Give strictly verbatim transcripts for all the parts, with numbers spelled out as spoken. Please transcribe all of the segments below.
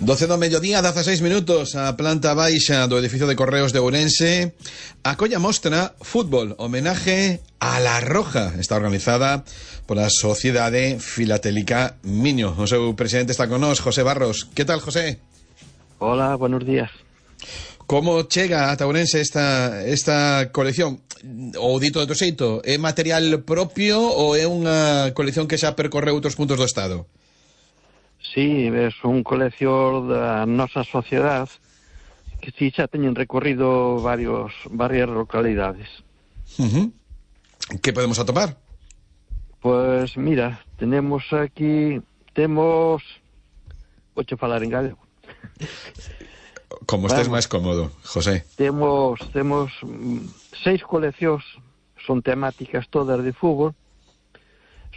doce do mediodía, dezaseis minutos, a planta baixa do edificio de Correos de Ourense acolla mostra Fútbol, homenaje a La Roja. Está organizada pola Sociedade Filatélica Miño. O seu presidente está con nós, José Barros. Que tal, José? Hola, buenos días. Como chega a Ourense esta, esta colección? Ou dito de outro xeito, é material propio ou é unha colección que xa percorre outros puntos do Estado? Sí, é un colección da nosa sociedade que si xa teñen recorrido varios, varias localidades. Uh-huh. Que podemos atopar? Pois mira, tenemos aquí, temos, vou falar en galego. Como estés máis cómodo, José. Temos, temos seis coleccións, son temáticas todas de fútbol,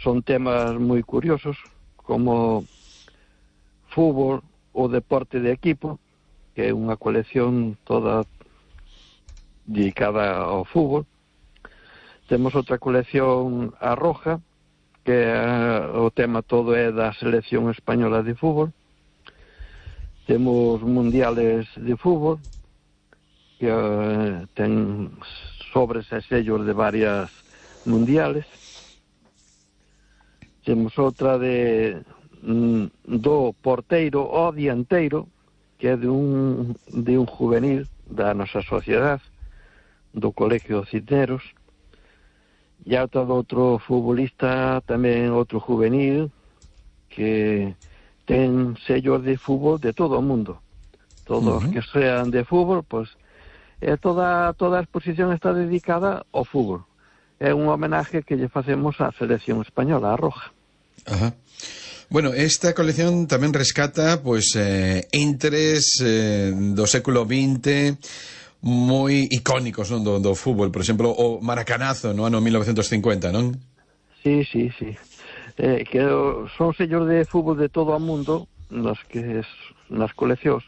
son temas moi curiosos, como fútbol, o deporte de equipo, que é unha colección toda dedicada ao fútbol. Temos outra colección a Roja, que uh, o tema todo é da selección española de fútbol. Temos mundiales de fútbol, que uh, ten sobres e sellos de varias mundiales. Temos outra de do porteiro ao dianteiro, que é de un, de un juvenil da nosa sociedade, do Colegio Cisneros, e outra do outro futbolista, tamén outro juvenil, que ten sellos de fútbol de todo o mundo. Todos uh-huh. que sean de fútbol, pois, eh, toda, toda a exposición está dedicada ao fútbol. É un homenaje que lle facemos á selección española, a Roja. Ajá. Bueno, esta colección tamén rescata pois eh, entres eh, do século vinte moi icónicos, non, do, do fútbol, por exemplo, o Maracanazo no ano mil novecentos cincuenta, non? Sí, sí, sí. Eh, que son sellos de fútbol de todo o mundo nas que nas coleccións.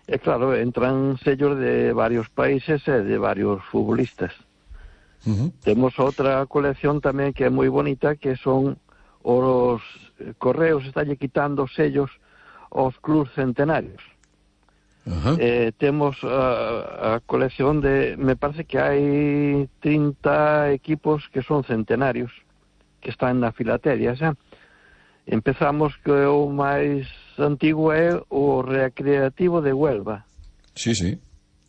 E claro, entran sellos de varios países e de varios futbolistas. Uh-huh. Temos outra colección tamén que é moi bonita, que son os Correos estalle quitando sellos aos clubs centenarios. Uh-huh. Eh, temos a, a colección de, me parece que hai trinta equipos que son centenarios, que están na filateria, xa. Empezamos que o máis antigo é o Recreativo de Huelva. Sí, sí.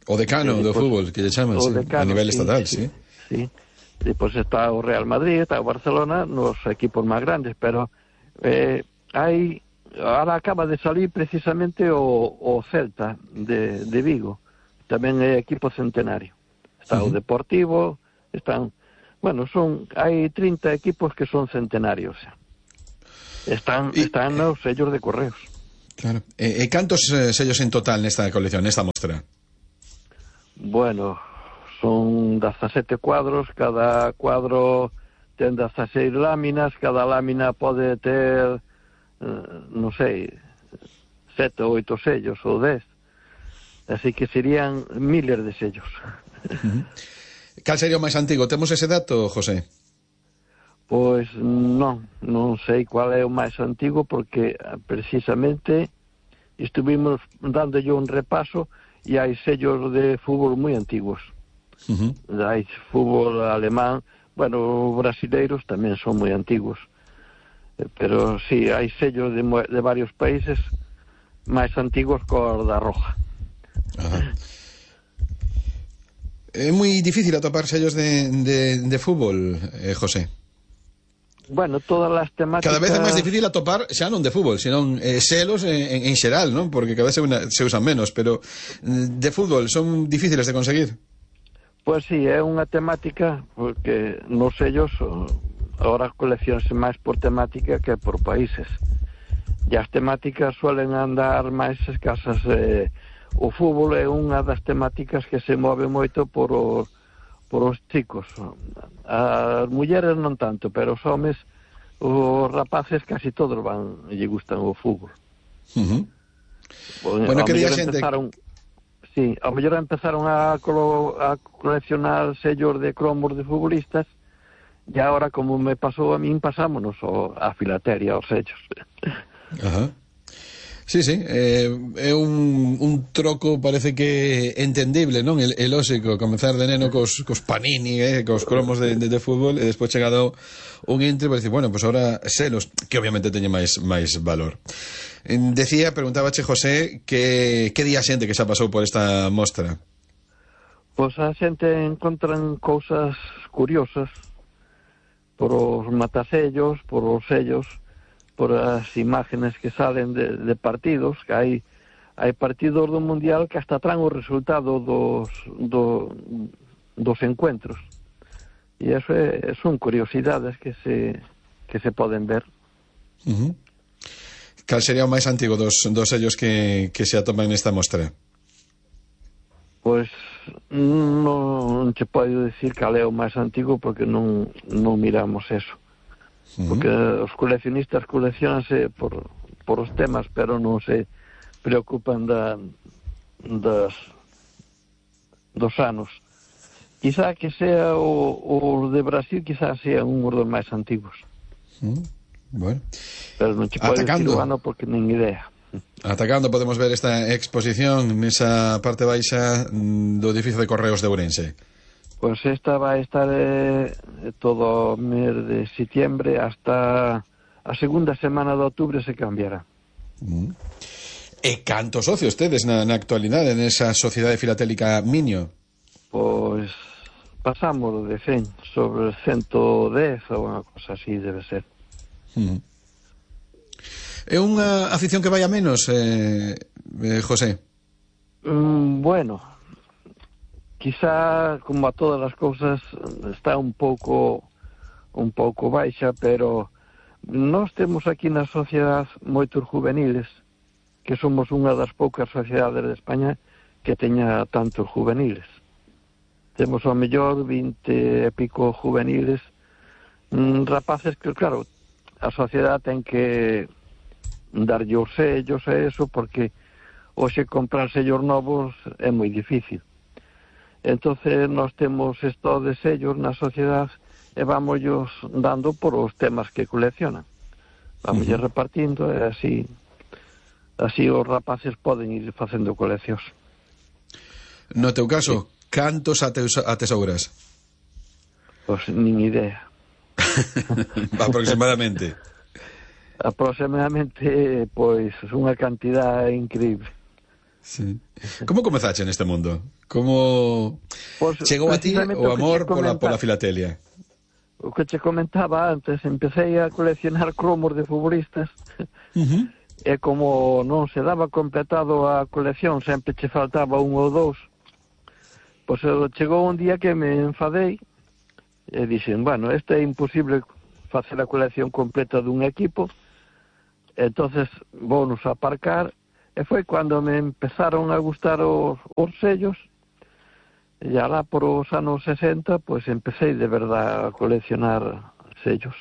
O decano eh, do pues, fútbol, que lle chaman, sí, decano, a nivel sí, estatal, sí. sí. sí. Depois está o Real Madrid, está o Barcelona, nos equipos máis grandes, pero eh, hai, ahora acaba de salir precisamente o, o Celta de, de Vigo, tamén é equipo centenario. Está uh-huh. o Deportivo, están, bueno, son, hai trinta equipos que son centenarios. Están, y, están os sellos de Correos. Claro. E, e cantos eh, sellos en total nesta colección, nesta mostra? Bueno, son dezasete cuadros, cada cuadro ten dezaseis láminas, cada lámina pode ter, eh, non sei, sete ou oito sellos, ou dez. Así que serían miles de sellos. Uh-huh. Cal sería o máis antigo? Temos ese dato, José? Pois non, non sei cual é o máis antigo, porque precisamente estuvimos dándolle un repaso e hai sellos de fútbol moi antigos. Uh-huh. Hai fútbol alemán, bueno, os brasileiros tamén son moi antigos, pero sí, hai sellos de, de varios países máis antigos co da Roja. Ajá. É moi difícil atopar sellos de, de, de fútbol, eh, José? Bueno, todas as temáticas... Cada vez é máis difícil atopar xa non de fútbol, senón eh, selos en, en xeral, non? Porque cada vez se, una, se usan menos, pero de fútbol son difíciles de conseguir. Pois sí, é unha temática, porque nos sellos agora colecciónse máis por temática que por países. E as temáticas suelen andar máis escasas. Eh, o fútbol é unha das temáticas que se move moito por os, por os chicos. As mulleres non tanto, pero os homes, os rapaces casi todos van, lle gustan o fútbol. Uh-huh. Bueno, que día xente... Empezaron... Sí, ao mellor empezaron a, colo, a coleccionar sellos de cromos de futbolistas e agora, como me pasou a min, pasámonos ao, a filateria, aos sellos. Ajá. Sí, sí, eh, é un, un troco parece que entendible, non? El, el óxico, comenzar de neno cos, cos panini, eh, cos cromos de, de, de fútbol, e despois chegado un intre para decir, bueno, pues ahora selos, que obviamente teñen máis máis valor. Decía, preguntábache, José, que, que día xente que xa pasou por esta mostra? Pois a xente encontran cousas curiosas por os matasellos, por os sellos, por as imágenes que salen de, de partidos, que hai hai partidos do Mundial que hasta traen o resultado dos do, dos encuentros. E eso é, son curiosidades que se que se poden ver. Uh-huh. Cal sería o máis antigo dos, dos sellos que, que se atoman nesta mostra? Pois non, non che podo dicir cal é o máis antigo porque non, non miramos eso. Porque os coleccionistas coleccionanse por, por os temas, pero non se preocupan da, das, dos anos. Quizá que sea o, o de Brasil, quizá sea un dos máis antigos. Mm, bueno. Pero non che podo dicir o ano porque nin idea. Atacando podemos ver esta exposición nesa parte baixa do edificio de Correos de Ourense. Pois pues esta vai estar eh, todo o mes de setiembre hasta a segunda semana de outubro se cambiará. Mm. E cantos socios tedes na, na actualidade nesa Sociedade Filatélica Minio? Pois pasamos de cen sobre ciento dez ou unha cosa así debe ser. Mm. É unha afición que vai a menos, eh, eh, José? Mm, bueno, quizá, como a todas as cousas, está un pouco un pouco baixa, pero nós temos aquí na sociedade moitos juveniles, que somos unha das poucas sociedades de España que teña tantos juveniles. Temos ao mellor vinte e pico juveniles, mm, rapaces que, claro, a sociedade ten que darlle os sellos e eso, porque hoxe comprar sellos novos é moi difícil. Entonces nós temos esto de sellos na sociedade e vámoslos dando por os temas que coleccionan. Vámoslle uh-huh. repartindo e así así os rapaces poden ir facendo coleccións. No teu caso, sí. Cantos atesouras? Pois nin idea. Aproximadamente. Aproximadamente, pois, unha cantidad increíble. Sí. Como comezache neste mundo? Como pues, chegou a ti o amor pola, pola filatelia? O que che comentaba antes, empecé a coleccionar cromos de futbolistas. Uh-huh. E como non se daba completado a colección, sempre che faltaba un ou dous, pois chegou un día que me enfadei e dixen, bueno, este é imposible facer a colección completa dun equipo, entonces vounos aparcar. E foi cando me empezaron a gustar os, os sellos, e alá por os anos sesenta, pois empecé de verdad a coleccionar sellos.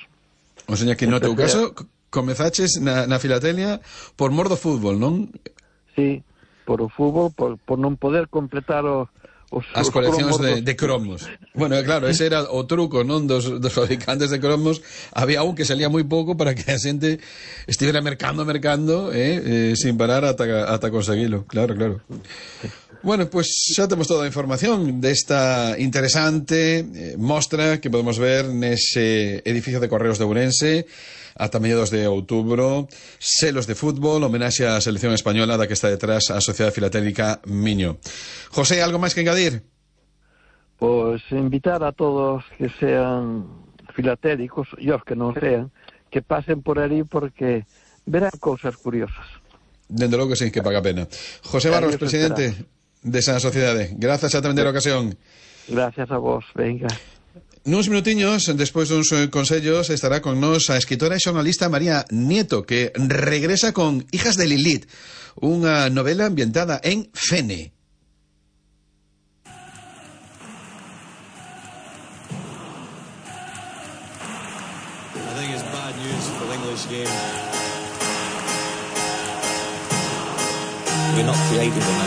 O sea que no teu caso comezaches na, na filatelia por mor do fútbol, non? Sí, por o fútbol, por, por non poder completar o, os, as os coleccións cromos de, de cromos. Bueno, claro, ese era o truco, non, dos, dos fabricantes de cromos. Había un que salía moi pouco para que a xente estivera mercando, mercando, eh, eh, sin parar ata, ata conseguilo. Claro, claro. Bueno, pues xa temos toda a información desta interesante eh, mostra que podemos ver nese edificio de Correos de Ourense ata mediados de outubro, selos de fútbol, homenaxe á selección española da que está detrás a Sociedade Filatélica Miño. José, algo máis que engadir? Pois invitar a todos que sean filatélicos e os que non sean, que pasen por ali porque verán cousas curiosas. Dende logo que sí, que paga pena. José Barros, presidente desa sociedade, grazas a tamén a ocasión. Gracias a vos, venga. Nuns minutiños, despois duns consellos, estará con nos a escritora e xornalista María Nieto, que regresa con Hijas de Lilith, unha novela ambientada en Fene. I think it's bad news for the English game. We're not creative enough.